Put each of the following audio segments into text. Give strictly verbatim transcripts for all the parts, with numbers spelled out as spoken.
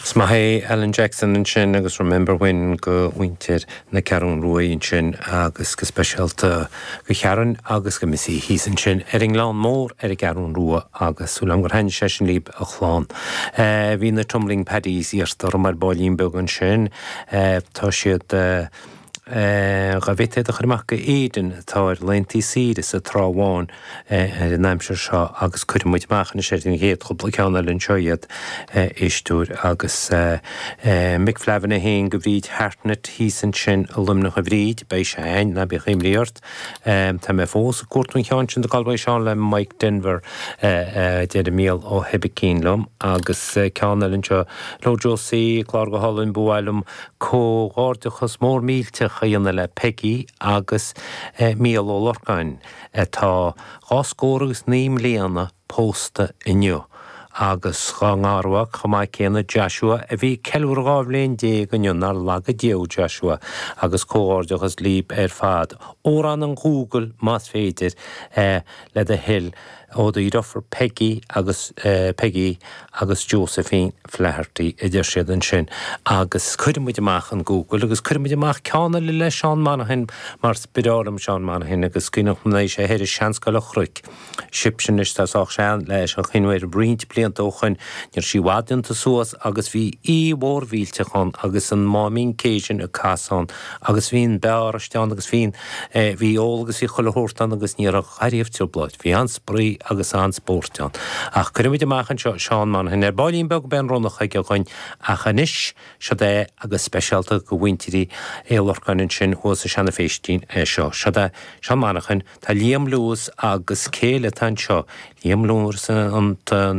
Is maith é Alan Jackson ansin agus Remember When go mhuintir na Ceathrún Rua ansin agus go speisialta go Sharon agus go Missy thíos ansin ar an nGleann Mór ar an gCeathrún Rua agus súil agam gur thaitnigh sé sin libh a chlann. Bhí na Tumbling Paddies iarrta orm ar baillín beag ansin tá siad Dá bhféadfaí iad a chur amach go Éirinn atá ar laethanta saoire sa Trá Bháin ar an aimsir seo agus cuirfidh muid amach anois ar an gcéad chúpla ceann eile anseo iad, éisteoir agus Mick Flavin é féin go Bhríd Hartnett thíos ansin i Luimneach a Bhríd, beidh sé a'ainn, ná bíodh imní ort. Tá mé fós ag cuartú an cheann sin de Galway Sean le Mike Denver, a deir Mícheál Ó hOibicín liom agus ceann eile anseo, Hello Josie, clár go hálainn, ba mhaith liom comhghairdeachas mór millteach a dhéanamh le Peggy agus Mícheál Ó Lorcáin atá dhá scór agus naoi mbliana pósta inniu agus dhá ngarmhac chomh maith céanna, Joshua, a bhí ag ceiliúradh dhá bhliain déag inniu, nár laga Dia thú Joshua, agus comhghairdeachas libh ar fad. Amhrán an Ghoogle más féidir, le do thoil. Ó do dheirfiúr Peggy agus Peggy agus Josephine Flaherty a deir siad ansin agus cuirfidh muid amach an Google agus cuirfidh muid amach ceann eile le Seán Monaghan mar is breá liom Seán Monaghan agus cuimhneach liom nuair a bhí sé thoir i Seanscoil an Chnoic sibhse anois tá sách sean leis an chuimhneamh air roinnt blianta ó shoin ní raibh sí i bhfad déanta suas agus bhí oíche mhór mhillteach ann agus an Máimín Cajun ag casadh ann agus bhí an beáraiste ann agus bhí an bhí ól agus bhí chuile shórt ann agus ní raibh ariamh trioblóid. Bhí an-spraoi agus an-spórt ann. Ach cuirfidh muid amach anseo Seán Monaghan. Ar baillín beag beidh an ronnach aige againn ach anois, siod é agus speisialta go mhuintir Uí Lorcáin ansin thuas i Seanadh Phéistín é seo. Siod é Seán Monaghan. Tá Liam Lewis agus cé eile atá anseo? Liam Lewis an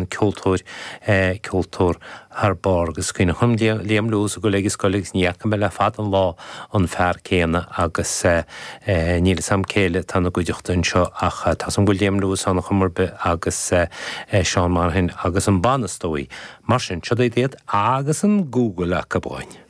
ceoltóir, ceoltóir thar barr agus cuimhneach liom Liam Lewis ag dul ag an scoil agus ní fhaca mé le fada an lá an fear céanna agus níl fhios a'm cé eile atá ina gcuideachta anseo ach tá 's a'm go bhfuil Liam Lewis ann chuma ar bith agus Seán Monaghan agus an banna is dóigh. Mar sin, siod iad agus an Google acu againn.